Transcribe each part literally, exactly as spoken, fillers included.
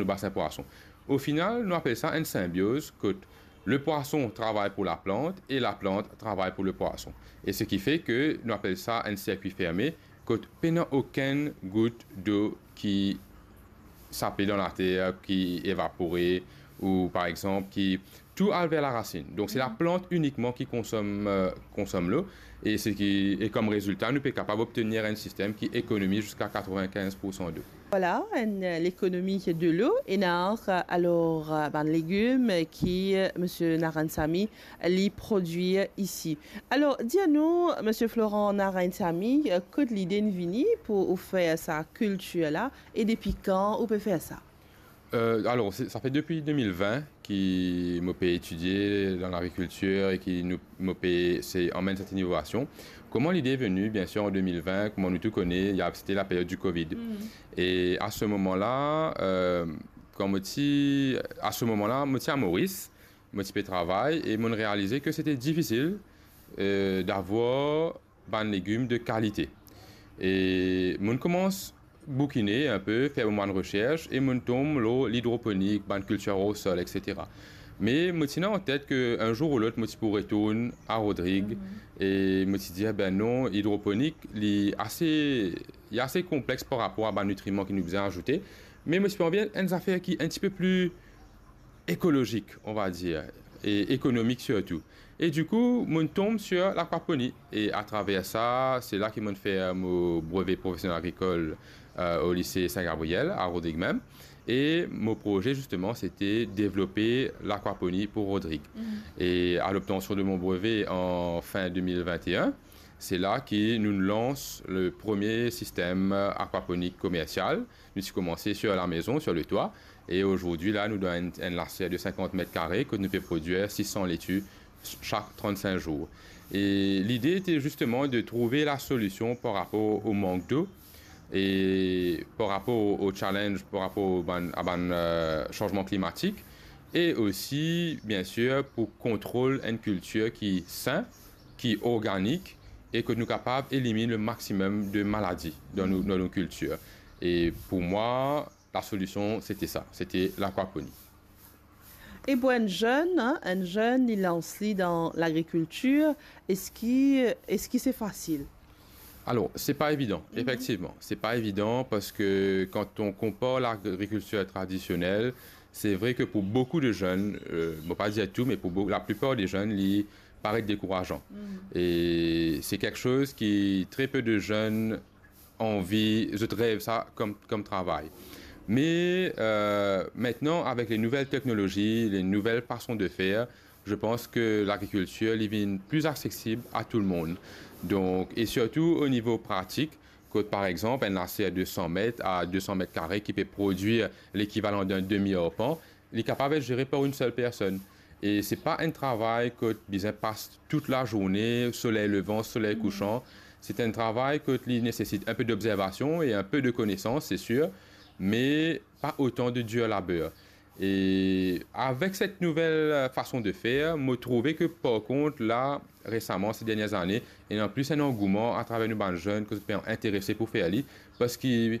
nou basin pwason. Ofinal, nou apel sa enn sinbioz kot le pwason travay pou laplant e laplant travay pou le pwason. E seki fe ke nou apel sa enn sirkwi ferme kot pena okenn gout dlo ki sape dan later, ki evapore, ou par exanp, ki tou al ver larasinn. Donk, se laplant inikman ki konsom, eh, konsom dlo, e seki, e kom rezilta, nou pe kapav obtenir enn sistem ki ekonomiz ziska katrevinkinz poursan dlo. Vwala, enn, eh, lekonomi dlo. Ena, eh, alor, eh, bann legim ki, eh, Misie Narayansamy li prodwir isi. Alor, dir nou, Misie Florent Narayansamy, eh, kot lide inn vini pou ou fer sa kiltir la, e depi kan ou pe fer sa? Eh, alor, se, sa fer depi de mil vin ki mo pe etidie dan lagrikiltir e ki nou, mo pe se amenn set inovasion. Kouma lide vini? Biensir, an de mil vin, kouma nou tou kone, li a, sete laperiod di Covid. Mm. E a se moman la, eh, kan mo ti, a se moman la, mo ti a Moris, mo ti pe travay e mo'nn realize ke sete difisil, eh, davwar bann legim de kalite. E mo'nn koumans boukine inpe, fer mo bann resers, e mo'nn tom lor lidroponik, bann kiltir o sol, etsetera. Me mo ti ena an tet ke enn zour ou lot, mo ti pou retourn a Rodrig, mhm, e mo ti dir, "Be non, idroponik, li ase, li ase konplex par rapor a bann nitriman ki nou bizin azoute." Me mo ti pe anvi enn zafer ki enn tipe pli ekolozik, on va dir, e ekonomik sirtou. E dikou, mo'nn tom sir lakwaponi. E atraver sa, se la ki mo'nn fer mo breve profesionel agrikol, eh, o lise Sin Gabriel, a Rodrig mem. E mo proze, zisteman, sete devlope lakwaponi pou Rodrig. Mhm. E a lobtansion de mo breve an fin de mil vin e enn, se la ki nou lans le premie sistem akwaponik komersial. Nou ti koumanse sir lamezon, sir letwa, e azordi la, nou dan enn, enn laser de sinkant met kare, kot nou pe prodwir sis san leti sak trannsink zour. E lide ete zisteman de trouve lasolision par rapor o mank dlo, e par rapor o challenge, par rapor bann, a bann, eh, sanzman klimatik, e osi, biensir, pou kontrol enn kiltir ki sin, ki organik, e ke nou kapav eliminn le maximum de maladi dan nou, dan nou kiltir. E pou mwa, lasolision, sete sa, sete lakwaponi. E pou enn zenn, hein, enn zenn, li lans li dan lagrikiltir, eski, eski se fasil? Alor, se pa evidan, mhm, efektivman. Se pa evidan parski kan on konpar lagrikiltir tradisionel, se vre ke pou boukou de zenn, eh, mo pa dir tou, me pou bou-, laplipar de zenn, li paret dekourazan. Mhm. E se kiksoz ki tre pe de zenn anvi, zot rev sa kom, kom travay. Me, eh, aster, avek le nouvel teknolozi, le nouvel fason de fer, je pense ke lagrikiltir, li vinn pli aksesib a tou le mond. Donk, e sirtou o nivo pratik, kot, par exanp, enn laser de san met a de san met kare ki pe prodwir lekivalan d'enn demi arpan, li kapav et zere par enn sel personn. E se pa enn travay kot bizin pas tout lazourne, soley levan, soley, mhm, kousan. Se enn travay kot li nesesit inpe d'obzervasion e inpe de konesans, se sir, me pa otan de dir laber. E avek set nouvel, eh, fason de fer, mo trouve ke par kont la, resaman, se dernie zane, ena plis enn angouman atraver nou bann zenn ki pe interese pou fer li, parski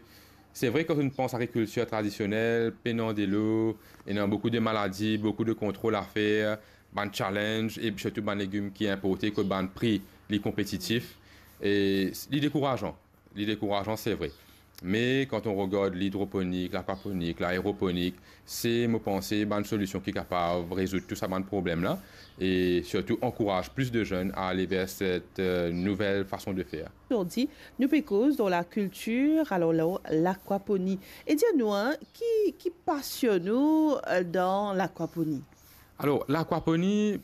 se vre, kan nou pans agrikiltir tradisionel, pena delo, ena boukou de maladi, boukou de kontrol a fer, bann challenge, e sirtou bann legim ki inporte, kot bann pri li konpetitif, e li dekourazan. Li dekourazan, se vre. Me kan nou regard lidroponik, lakwaponik, laeroponik, se, mo panse, bann solision ki kapav rezoud tou sa bann problem la, e sirtou ankouraz plis de zenn a ale ver set, eh, nouvel fason de fer. Zordi, nou pe koz dan lakiltir, alor la, lakwaponi. E dir nou, hein, ki, ki pasionn ou, eh, dan lakwaponi? Alor, lakwaponi,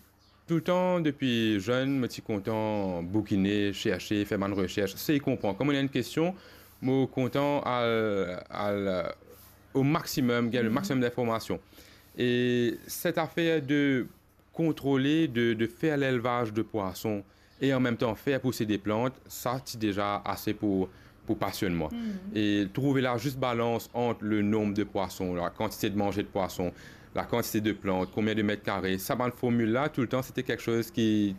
toultan depi zenn, mo ti kontan boukine, serse, fer bann resers, sey konpran. Kan mo ena enn kestion, mo kontan al, al, eh, o maximum, gagn le, mhm, maximum d'informasion. E set afer de kontrole, de, de fer lelvaz de pwason e an mem tan fer pouse de plant, sa ti deza ase pou, pou pasionn mwa. Mhm. E trouve lazis balans ant le nonb de pwason, lakantite de manze de pwason, lakantite de plant, konbien de met kare, sa bann formil la, toultan, sete kiksoz ki,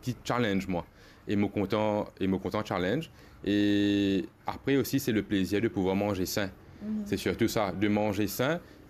ki challenge mwa. E mo kontan, e mo kontan challenge. E apre osi, se le plezir de pouvwar manze sin. Mhm. C'est surtout ça, de manger sain,